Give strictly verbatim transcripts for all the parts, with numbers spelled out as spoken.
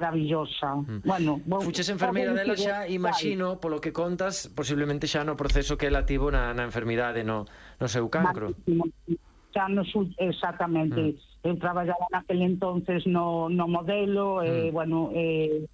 maravillosa. Mm. Bueno, fuches enfermeira dela xa, imagino, polo que contas, posiblemente xa no proceso que ela tivo na, na enfermidade, no, no seu cancro. Xa no, exactamente. Mm. Eu traballaba naquele entonces no, no modelo, mm. e, bueno, eh,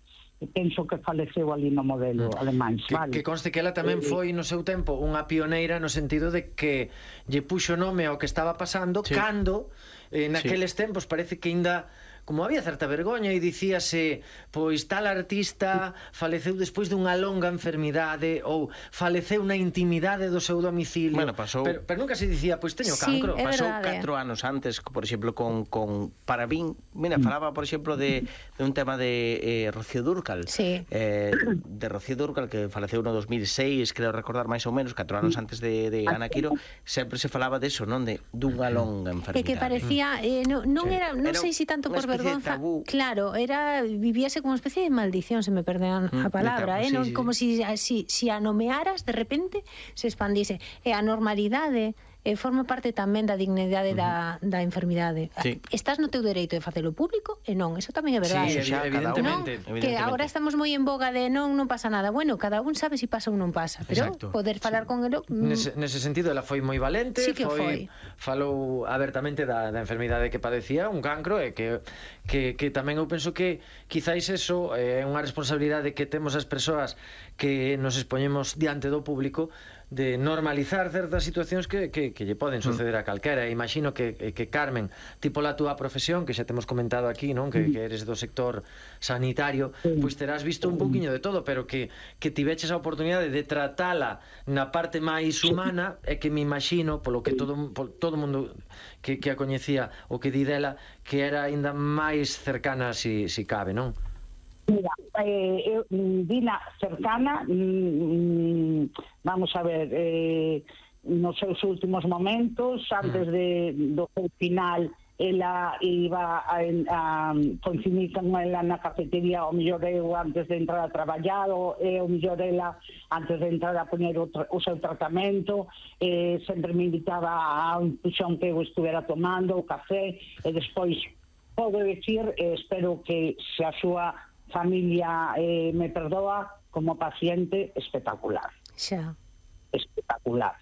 penso que faleceu ali no modelo mm. alemán, que, vale? Que conste que ela tamén foi no seu tempo unha pioneira no sentido de que lle puxo nome ao que estaba pasando, sí. Cando eh, naqueles sí. tempos parece que ainda como había certa vergoña e dicíase pois tal artista faleceu despois dunha longa enfermidade ou faleceu na intimidade do seu domicilio. Bueno, pasou... pero, pero nunca se dicía, pois teño sí, cancro. Pasou catro anos antes, por exemplo, con, con Parabín. Mira, falaba, por exemplo, de, de un tema de eh, Rocío Dúrcal. Sí. Eh, de Rocío Dúrcal, que faleceu no dos mil seis, creo recordar máis ou menos, catro anos antes de, de Ana Quiro, sempre se falaba de eso, non? De dunha longa enfermidade. E que parecía, eh, non, non sí. era, non sei se si tanto por vergonza, claro, era vivíase como unha especie de maldición, se me perdean a palabra, mm, eh, sí, non sí, como si si si a nomearas de repente se expandise. E a normalidade eh, forma parte tamén da dignidade uh -huh. da, da enfermidade. Sí. Estás no teu dereito de facelo público e non, eso tamén é verdade. Sí, xa, evidentemente, non? evidentemente. Que agora estamos moi en boga de non, non pasa nada. Bueno, cada un sabe se si pasa ou non pasa, pero exacto. Poder falar sí. con ele... Mm... Nese, nese sentido, ela foi moi valente, sí que foi, foi. Falou abertamente da, da enfermidade que padecía, un cancro, e que, que, que tamén eu penso que quizáis eso é eh, unha responsabilidade que temos as persoas que nos expoñemos diante do público, de normalizar certas situacións que, que, que lle poden suceder a calquera. E imagino que, que Carmen, tipo la túa profesión, que xa temos comentado aquí, non? Que, que eres do sector sanitario, pois terás visto un pouquiño de todo, pero que, que tiveches a oportunidade de tratala na parte máis humana, e que me imagino, polo que todo polo, todo mundo que, que a coñecía o que di dela, que era aínda máis cercana si, si cabe, non? Mira, eh, eu, Dina cercana, mm, vamos a ver, eh, nos seus últimos momentos, antes de, do final, ela iba a, a coincidir con ela na cafetería, o mellor eu antes de entrar a traballar, o, e o mellor ela antes de entrar a poñer o, o seu tratamento, eh, sempre me invitaba a un puxón que eu estuvera tomando, o café, e despois podo decir, eh, espero que se a súa familia eh, me perdoa, como paciente espectacular. Xa. Espectacular.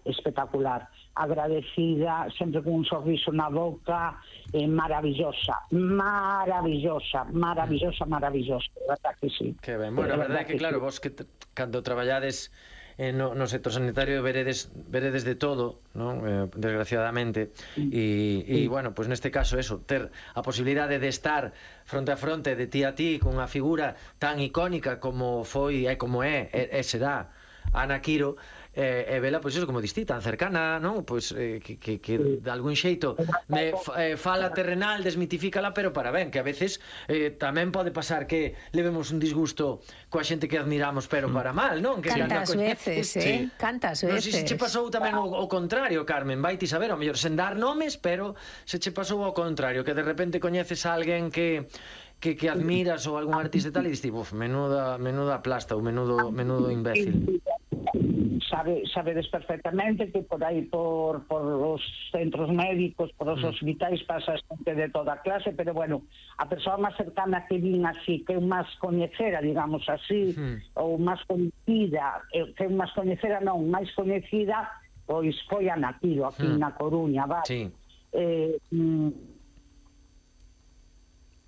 Espectacular. Agradecida, sempre con un sorriso na boca, eh, maravillosa, maravillosa, maravillosa, maravillosa. Verdad que sí. Que ben. Bueno, a verdade é que, claro, vos que cando traballades Eh, no, no sector sanitario veredes, veredes de todo, non? Eh, desgraciadamente e, e bueno, pois pues neste caso eso, ter a posibilidade de estar fronte a fronte de ti a ti con unha figura tan icónica como foi e como é e, e será Ana Quiro, eh, e vela, pois eso, como distí, tan cercana, non? Pois eh, que, que, que de algún xeito me eh, fala terrenal, desmitifícala, pero para ben, que a veces eh, tamén pode pasar que levemos un disgusto coa xente que admiramos, pero para mal, non? Que cantas veces, eh? Sí. Cantas veces. Non sei se che pasou tamén o, o contrario, Carmen, vai ti saber, ao mellor sen dar nomes, pero se che pasou ao contrario, que de repente coñeces a alguén que que, que admiras ou algún artista e tal, e diste, uf, menuda, menuda plasta ou menudo, menudo imbécil. Sabe, sabedes perfectamente que por aí por, por os centros médicos, por os mm. hospitais pasa xente de toda clase, pero bueno, a persoa máis cercana que vin así, que eu máis coñecera, digamos así, mm. ou máis coñecida, que eu máis coñecera non, máis coñecida, pois foi Ana Quiro, aquí mm. na Coruña, vale? Sí. Eh, mm,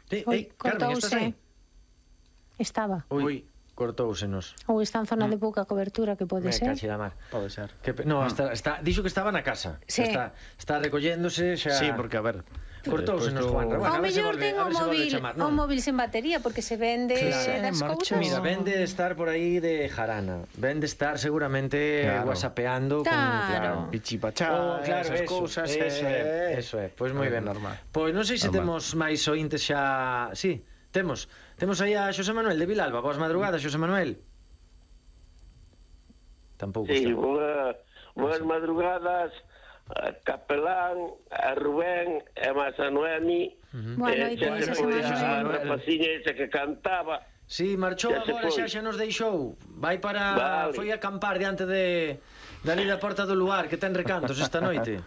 Sí, Oi, Carmen, estás aí? Estaba. Ui, cortóusenos. Ou está en zona mm. de pouca cobertura, que pode Me ser. cache da mar. Pode ser. Que, no, está, está, dixo que estaba na casa. Sí. Está, está recolléndose xa. Sí, porque a ver, cortóusenos, Juan. Bueno, ao mellor ten o móvil, o móvil sen batería, porque se vende claro, das cousas. Mira, vende de estar por aí de jarana. Vende estar seguramente claro. whatsappeando claro. con claro, pichipachá, oh, claro, esas eso, cousas, eso, eso é, eso é. Pois moi ben, normal. Pois non sei se normal. Temos máis ointes xa, sí, temos. Temos aí a Xosé Manuel de Vilalba. Boas madrugadas, Xosé Manuel. Tampouco sí, está. Boa, boas madrugadas a Capelán, a Rubén e máis a Noemi. Uh-huh. Boa noite, Xosé Manuel. A rapaciña esa que cantaba. Sí, marchou xa agora, xa xa nos deixou. Vai para... Vale. Foi a acampar diante de... dali da porta do lugar, que ten recantos esta noite.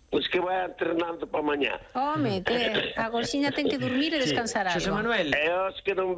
Pois que vai entrenando para mañá. Home, que a Gorxiña ten que dormir e descansar algo. Xosé Manuel. E os que non